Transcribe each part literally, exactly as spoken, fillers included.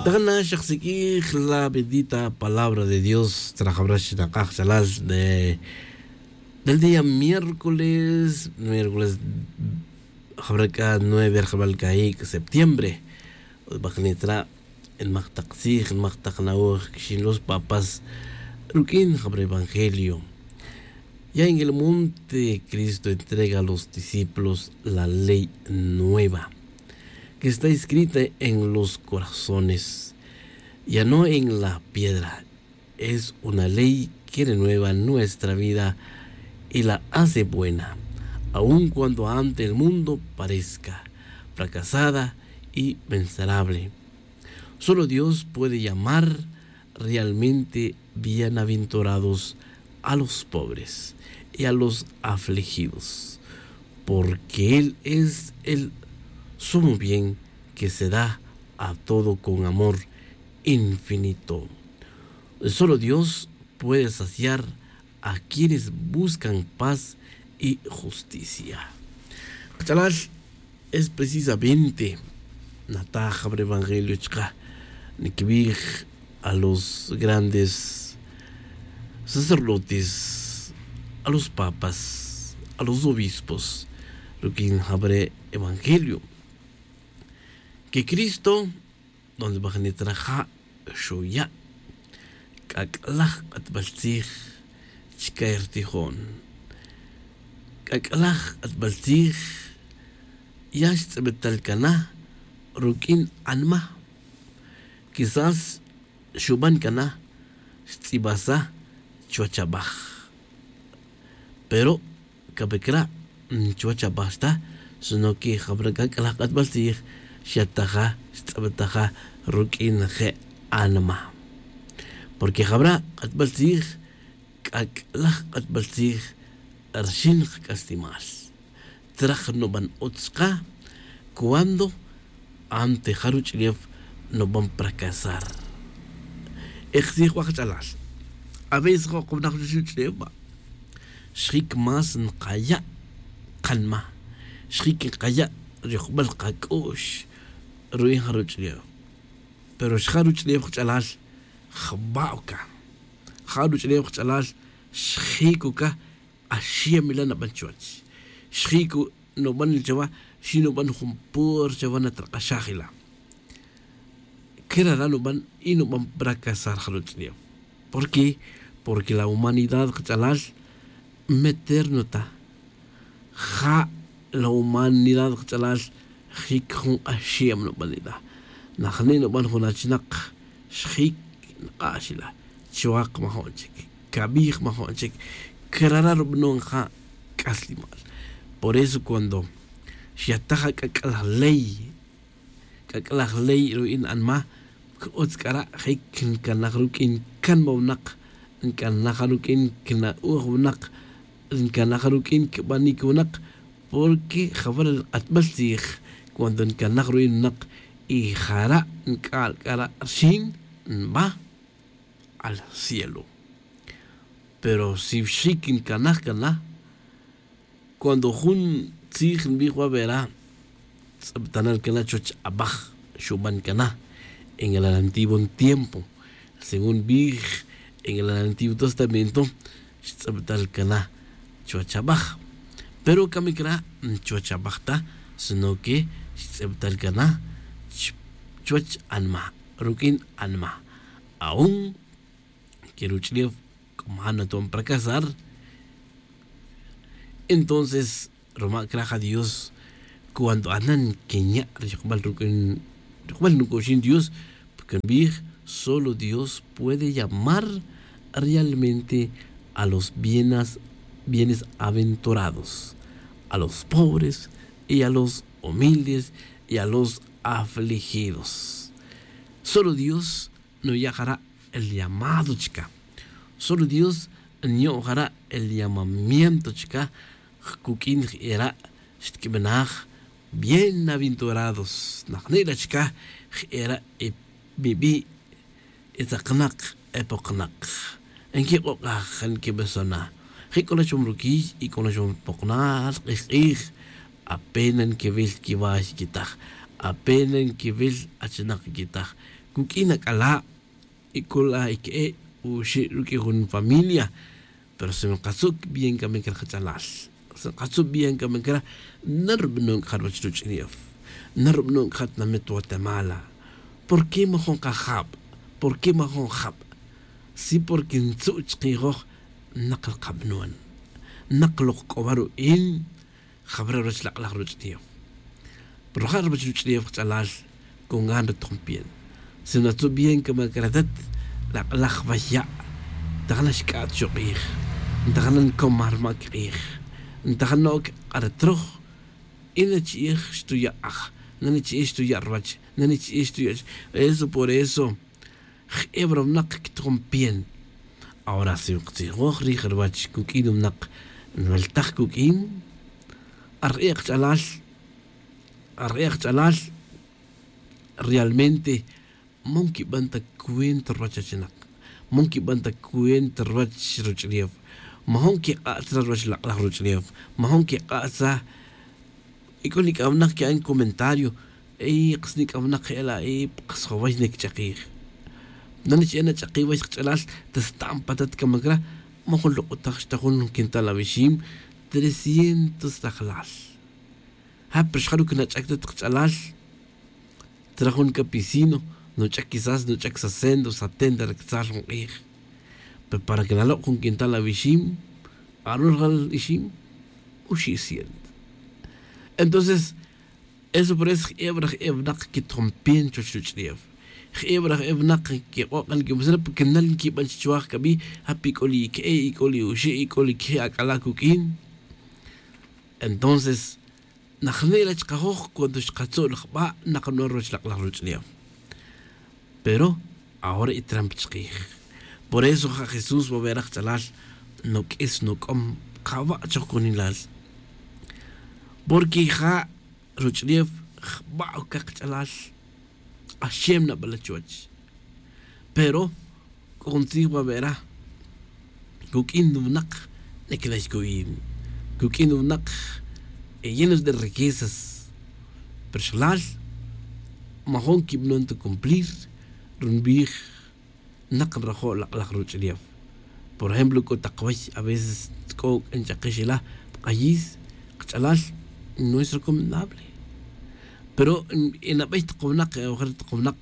Tana xaqsiq'ij la bendita palabra de dios trajabra xinak'aj chalal de del día miércoles miércoles jabra c'a nueve rjabal c'a ic' septiembre. Bajnitra' nmaq tak tzij nmaq tak na'oj quixin los papas ruq'uin jabra evangelio. Ya en el monte cristo entrega a los discípulos la ley nueva que está escrita en los corazones, ya no en la piedra. Es una ley que renueva nuestra vida y la hace buena, aun cuando ante el mundo parezca fracasada y miserable. Solo dios puede llamar realmente bienaventurados a los pobres y a los afligidos, porque él es el sumo bien que se da a todo con amor infinito. Solo dios puede saciar a quienes buscan paz y justicia. Kach'alal, es precisamente nataj jabra evangelio chka' niquibij a los grandes sacerdotes, a los papas, a los obispos ruq'uin jabra evangelio. Que cristo donde bajnitra ja' xuya' c'ac'laj k'atbal tzij chca rtijon. C'ac'laj k'atbal tzij ya xtz'ibtal cana ruq'uin anma. Quizás xuban cana xtz'ibasa chuwach abaj. Pero cabe cra' chuwach abaj xta sino que jabra c'ac'laj k'atbal tzij xataja xtz'ibtaja ruq'uin je' anma. Porque jabra k'atbal tzij c'ac'laj k'atbal tzij rxin kac'aslemal. Traj nuban utz chka cuando ante ja ruch'ulef nuban pracasar. Ektzij wa kach'alal, a veces ja' kawnak ruch'ulef ba' xjic más nkaya' kanma, xjic nkaya' riyojbal kac'u'x ru'in ja ruch'ulef. Pero xja ruch'ulef kach'alal jba' uka. Ja ruch'ulef kach'alal xjic uka. Axem ila' naban chuwech xjic nuban chawa, xi nuban jun pur chawa natrak'axaj ila'. Crara' nuban y nuban pracasar ja ruch'ulef. Por qué? Porque la humanidad kach'alal meter nuta. Ja la humanidad kach'alal jic jun k'axem nuban ila'. Najni' nuban jun achinak xjic nk'ax ila'. Chuwak majun chic, cabij majun chic. Crara' rubanon ja c'aslemal. Por eso cuando xyataj ac'ac'laj ley c'ac'laj ley ru'in anma, c'utz c'ara' jic ncanaj ruq'uin canma winak, ncanaj ruq'uin cna'oj winak, ncanaj ruq'uin cbanic winak. Porque jawara' ri k'atbal tzij cuando ncanaj ru'in winak y jara' nc'al c'ara' rxin nba al cielo. Pero si xic ncanaj cana cuando jun tzij nbij wa vera tz'abtanal cana chuwech abaj xuban cana en el antiguo tiempo. Según nbij en el antiguo testamento xtz'abtal cana chuwech abaj. Pero camic ra' chuwech abaj ta sino que xtz'abtal cana chuwech anma ruq'uin anma. Aun que ruch'ulef c'o man nato'on para casar. Entonces roma' craj a dios cuando anan quinya' ri yokbal ruc'uxin dios. Porque nbij solo dios puede llamar realmente a los bienas bienes aventurados, a los pobres y a los humildes y a los afligidos. Solo dios nuya' jara' el llamado chca. Solo dios nyo' jara' el llamamiento chca. Cuq'uin j'era' xtquibinaj bienaventurados najni' la chca j'era' e bibi' e tzaknak e poknak. Nquik'ok'aj nquibesona. Je' c'o la chom ruquiy y c'o la chom poknal k'ij k'ij. Apena nquewil quiwa' xiquitaj. Apena nquiwil achinak nquitaj cuq'uin ac'ala', y c'ola ique'e' uxe' ruq'ui jun familia. Pero si nkatzu' bien c'a micra kach'alal, si nkatzu' bien c'a micra, narubanon c'a ruwech ruch'ulef, narubanon c'a tinamit guatemala. ¿Por qué majun kajab? ¿Por qué majun jab? Sí, porque ntzu' chkijoj, nak lkabanon, nak lok c'o wa ru'in. Jabara' ruwech lak'laj ruch'ulef. Pero ja' ruwech ruch'ulef kach'alal, con gan ri tujun bien. Si natzu' bien c'a macra atat, lak'laj wa ya', ntajana xc'a't xok'ij, ntajana ncomar ma' kik'ij, ntajana oc k'a ri troj. Y nachi'ij xtuya' aj, nanichi'ij xtuya' ruwach, nanichi'ij xtuya'. Eso por eso je'e wa ri winak quitijom bien. Ahora si nkatzijoj rij ruwach cuq'uin winak nweltaj cuq'uin, are'e' kach'alal, are'e' kach'alal, realmente ma nquiban ta cuenta ruwach achinak, ma nquiban ta cuenta ruwach ruch'ulef, majun quik'a't ta ruwech lak'laj ruch'ulef, majun quik'a't ta. Y c'o nic'awnak que'an comentario, y kas nic'awnak je'ela' y kas jaway niquich'akij. Nanichi'ij nach'akij wach kach'alal, ta stam pa atat c'a macra, majun lok'otaj xta jun quintal awixim, trescientos lajlal. Ja pero xjaru' quinach'ac ta kach'alal, tra jun capicino nuch'ac quizás nuch'ac sesenta o setenta ri catzal jun k'ij. Pero para que nalok' jun quintal awixim, aru' rajal ixim, oxi' ciento. Entonces eso por eso je'e wa ri je'e winak quitijom bien chuwech ruch'ulef, je'e wa ri je'e winak quik'o' k'a nquimesera porque nal nquiban chichuaj c'a bi, ja pi c'o li ique'e', y c'o li oxe', y c'o li queje' ac'ala' cuq'uin. Entonces najine' la chkajoj cuando xkatzu' laj jba' nak nu'an ruwech lak'laj ruch'ulef. Pero ahora y trampa chkij. Por eso ja jesús wa wera kach'alal, nuq'uis nuc'om, kawa' choj cunilal. Porque ja ruch'ulef jba' oc cakch'alal, k'axem nabala' chuwech. Pero c'o jun tzij wa wera, cuq'uin winak niquila' xcu'in, cuq'uin winak llenos de riquezas, pero xlal majun quibanon ta cumplir ri nbij. Nak nrajo' lak'laj ruch'ulef. Por ejemplo c'o tak way aveces c'o nch'akix ila' pa k'ayis kach'alal, no es recomendable. Pero nabey tak winak, ojer tak winak,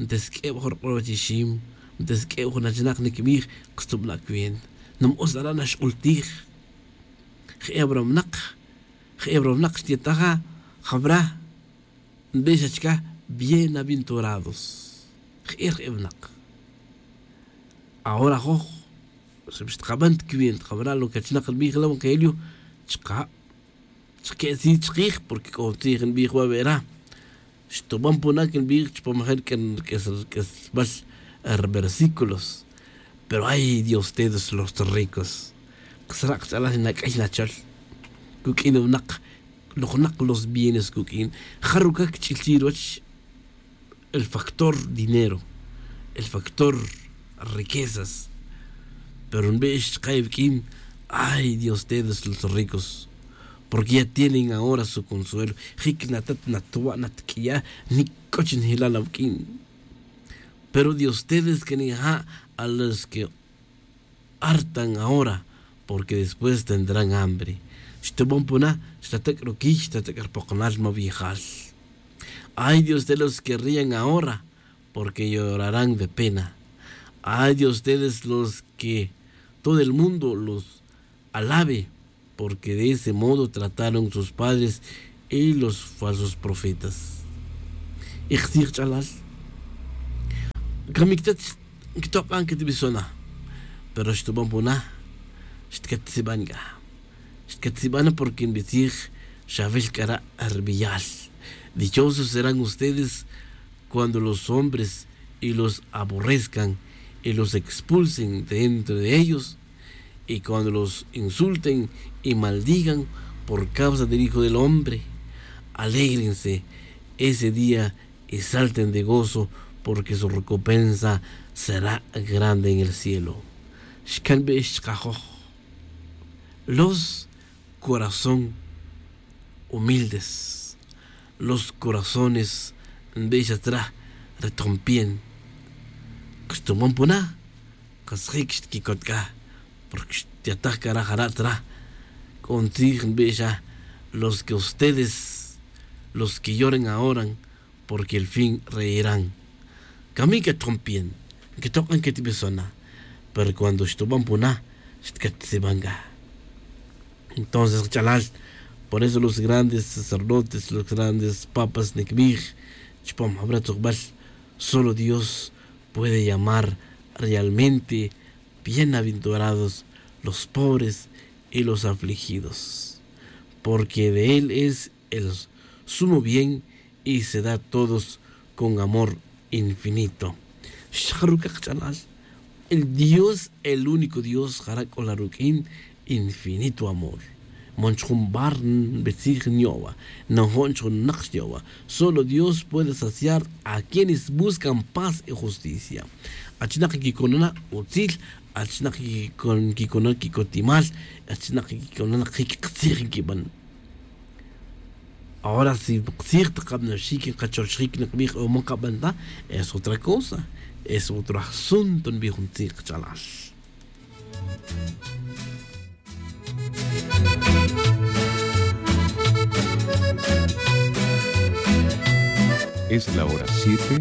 ntesq'ueb aj ruk'ul wach ixim, ntesq'ueb jun achinak niquibij, kastubana' cuenta, num-us ara' naxk'ultij. Je'e wa ri winak, je'e wa ri winak xtietaja jawara', nbix xa chca bienaventurados. Je'e ri je'e winak. Ahora ajoj xtkaban ta cuenta jawara' lo que achinak nbij la evangelio, chka' chke'tzij chkij, porque c'o tzij nbij wa wera. Xtuban puna' que nbij chupam ajer q'uesbal versículos. Pero ay de ustedes los ricos, kasra' kach'alal nac'ay nachol. Cuq'uin winak, lojnak los bienes cuq'uin. Ja ruca' cch'ilchi' ruwach el factor dinero, el factor riquezas. Pero nbix chka' iwuq'uin, ay de ustedes los ricos, porque ya tienen ahora su consuelo. Jic natat natwa' natq'uiya', nic c'o chi njelal awuq'uin. Pero de ustedes que nija' a los que hartan ahora, porque después tendrán hambre. Xtuban puna', xtatek' ruquiy, xtatek' rupokonal mawiyjal. Ay de ustedes los que rían ahora, porque llorarán de pena. Ay de ustedes los que todo el mundo los alabe, porque de ese modo trataron sus padres y los falsos profetas. Ixtzij ch'alal, camic tat quitok'an quetbisona, pero xtuban puna', xtquetziban c'a. Xtquetziban porque nbitzij, xawil c'a ra' rbiyal. Dichosos serán ustedes cuando los hombres y los aborrezcan y los expulsen de entre ellos, y cuando los insulten y maldigan por causa del Hijo del Hombre. Alégrense ese día y salten de gozo, porque su recompensa será grande en el cielo. Xcan bix chkajoj los corazón humildes. Los corazones nbix atzra ri tjun pien. Xtuban puna, qasjik xtquicot c'a, porque xtyataj c'a ra jara' tzra. C'o ntzij nbix a, los que ustedes, los que lloren ahora, porque el fin reirán. Camic atjon pien, nquetok'an quetbesona. Pero cuando xtuban puna, xtquetziban c'a. Entonces kach'alal, por eso los grandes sacerdotes, los grandes papas nikbij chupam jabra tzokbal, solo Dios puede llamar realmente bienaventurados los pobres y los afligidos, porque de él es el sumo bien y se da a todos con amor infinito. Xjaruca kach'alal, el Dios, el único Dios jara' c'o la ruq'uin infinito amor. Man chujun bar nbetzij nyo'wa, najo'n chujun nak xyo'wa. Solo Dios puede saciar a quienes buscan paz y justicia. Achinak quicona utzil, achinak quicona quicotimal, achinak quicona jic ktzij nquiban. Ahora si ktzij ta kabnaxic nkachoxjic nikbij o man kaban ta, es otra cosa, es otro asunto nbij jun tzij kach'alal. Es la hora siete.